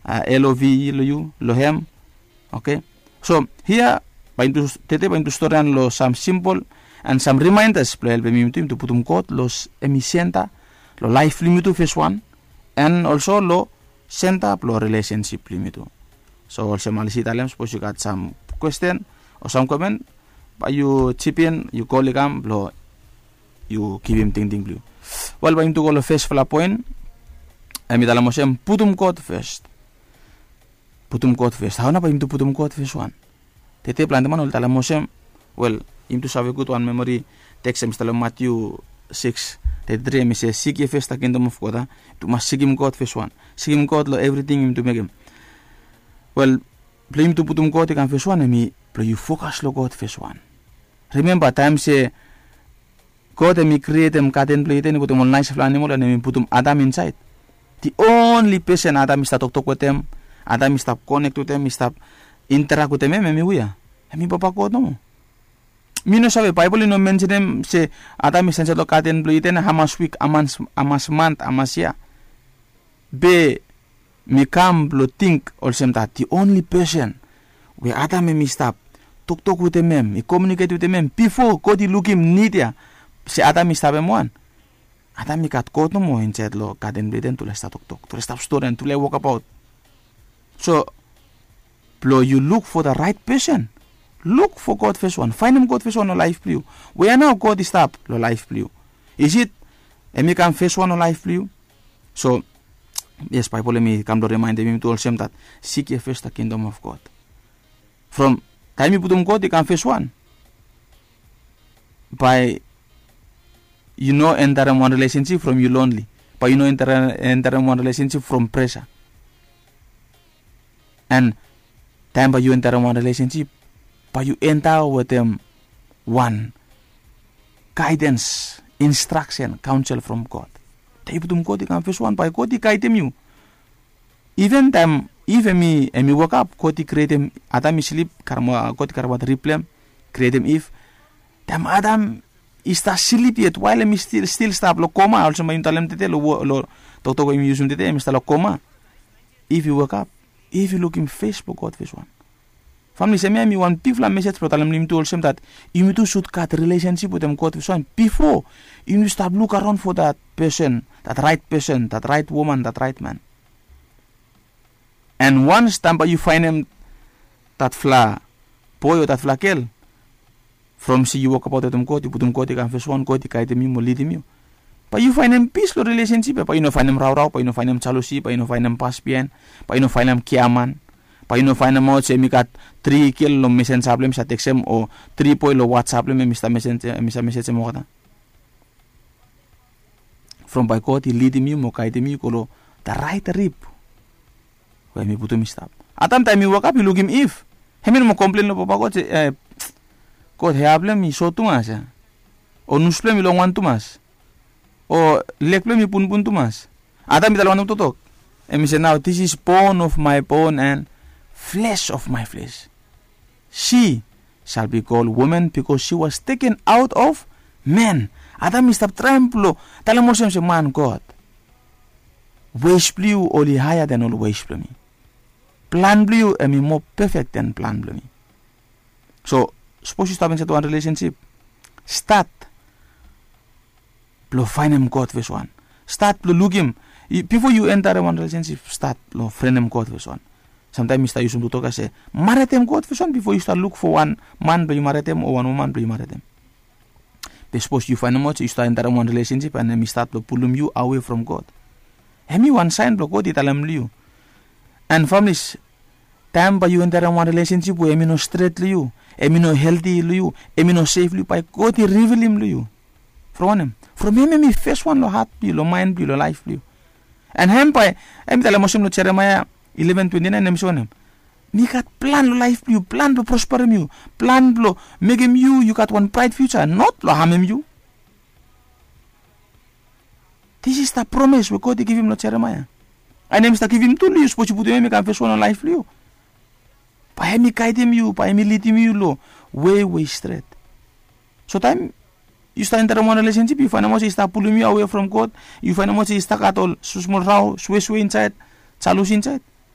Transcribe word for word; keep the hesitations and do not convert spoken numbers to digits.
love long yu, long hem. Oke. So hia bae yumi tu, tede bae yumi tu storian long sam simpol an sam rimaendas blong helpem yumi tu, yumi tu putum God long hem i senta long laef blong yumi tu, fes wan, an olso long senta blong rilesensip blong yumi tu. So olsem Alisi i talem, sapos yu gat sam kwesten o sam komen, bae yu jipin, yu kol i kam blong yu givim tingting blong yu. Wel, bae yumi tu go long fesfala poen. Hem i talem olsem, putum God fes. Putum God fes. Hao nao bae yumi tu putum God fes wan? Tede plante man oli talem olsem, wel, yumi tu save gud wan memori teks hem i stap long Matiu sikis teti tri, hem i se, seek ye first the kingdom of God, a? Yumi tu mas sikim God fes wan. Sikim God long evriting yumi tu mekem. Wel, blong yumi tu putum God i kam fes wan, hem i blong yu fokas long God fes wan. Rimemba taem se God hem i krietem gaden blong Iden, i putum ol naesfala animol an hem i putum Adam insaed. The only pesen Adam i stap toktok wetem, Adam i stap konek wetem, i stap interak wetem hem, hem i wia? Hem i papa God nomo. Mi no save, Baebol i no mensenem se Adam i stap insaed long gaden blong Iden hamas wik, hamas, hamas mant, hamas yia. Be mi kam blong ting olsem dat the only pesen we Adam hem i stap toktok wetem hem, i komiuniket wetem hem bifo God i lukim nid ya se Adam i stap hem wan. Adam i gat God nomo insaed long gaden blong Iden, tufala i stap toktok, tufala i stap storian, tufala i wokabaot. So blong yu luk fo the right pesen, luk fo God fes wan, faenem God fes wan long laef blong yu. Wea nao God i stap long laef blong yu? Is it hem i kam fes wan long laef blong yu? So yes, Baebol hem i kam blong rimaendem yumi tu olsem dat, seek ye first the kingdom of God. From taem yu putum God i kam fes wan, bae yu no entarem wan rilesensip from yu lonli. Bae yu no entarem wan rilesensip from presa. An taem bae yu entarem wan rilesensip, bae yu enta wetem wan gaedens, instraksen, kaonsel from God. Taem yu putum God i kam fes wan, bae God i gaedem yu. Iven taem Iv hem i, hem i wokap, God i krietem, Adam i slip, karemaot, God i karemaot rib blong hem, krietem Iv. Taem Adam i stap slip yet, wael hem i stil, stil stap long koma, olsem bae yumi talem tede long, long toktok we yumi yusum tede, hem i stap long koma. Iv i wokap, Iv i lukim fes blong God fes wan. Famili, hemia hem i wan bigfala mesej blong talem long yumi tu olsem dat yumi tu sud gat rilesensip wetem God fes wan bifo yumi stap lukaraon fo dat pesen, dat raet pesen, dat raet woman, dat raet man. An wans taem bae yu faenem datfala boe o datfala gel, from se yu wokabaot wetem God, yu putum God i kam fes wan, God i gaedem yu mo lidim yu, bae yu faenem pis long rilesensip ya, bae yu no faenem raorao, bae yu no faenem jalosi, bae yu no faenem pas biaen, bae yu no faenem giaman, bae yu no faenemaot se hem i gat tri gel long mesenja blong hem i stap tekstem o tri boe long WhatsApp blong hem i stap mesejem olgeta. From bae God i lidim yu mo gaedim yu go long da raet rib we hem i putum i stap. Adam taem i wokap i lukim Iv, hem i no moa komplen long Papa God se, God, hea blong hem i sot tumas ya, o nus blong hem i longwan tumas, o leg blong hem i punpun tumas. Adam i talem wanem toktok? Hem i se, nao this is bone of my bone and flesh of my flesh. She shall be called woman because she was taken out of man. Adam i stap traem blong talem olsem se, man, God, wes blong yu oli haea dan ol wes blong mi. Plan blong yu hem i moa pefek dan plan blong mi. So sapos yu stap insaed wan rilesensip, stat blong faenem God fes wan. Stat blong lukim, bifo yu entarem wan rilesensip, stat blong frenem God fes wan. Samtaem mi stap yusum toktok ya se, maretem God fes wan bifo yu stap luk fo wan man blong yu maretem o wan woman blong yu maretem. Be sapos yu faenemaot se yu stap entarem wan rilesensip an hem i stat blong pulum yu awe from God, hem i wan saen blong God i talem long yu. An famili, taem bae yu entarem wan rilesensip we hem i no stret long yu, hem i no helti long yu, hem i no sef long yu, bae God i rivilim long yu. From wanem? From hem hem i fes wan long hat blong yu, long maen blong yu, long laef blong yu. An hem bae, hem i talem olsem long Jeremaea eleven twenty nine, hem i se wanem? Mi gat plan long laef blong yu, plan blong prosperem yu, plan blong mekem yu yu gat wan braet fiuja, not blong hamem yu. This is the promise we God i givim long Jeremaea. An hem i stap givim tu long yu, sapos yu putum hem i kam fes wan long laef blong yu, bae hem i gaedem yu, bae hem i lidim yu long wei we i stret. So taem yu stap entarem wan rilesensip, yu faenemaot se i stap pulum yu awe from God, yu faenemaot se i stap gat ol smosmol rao, sweswe insaed, jalosi insaed,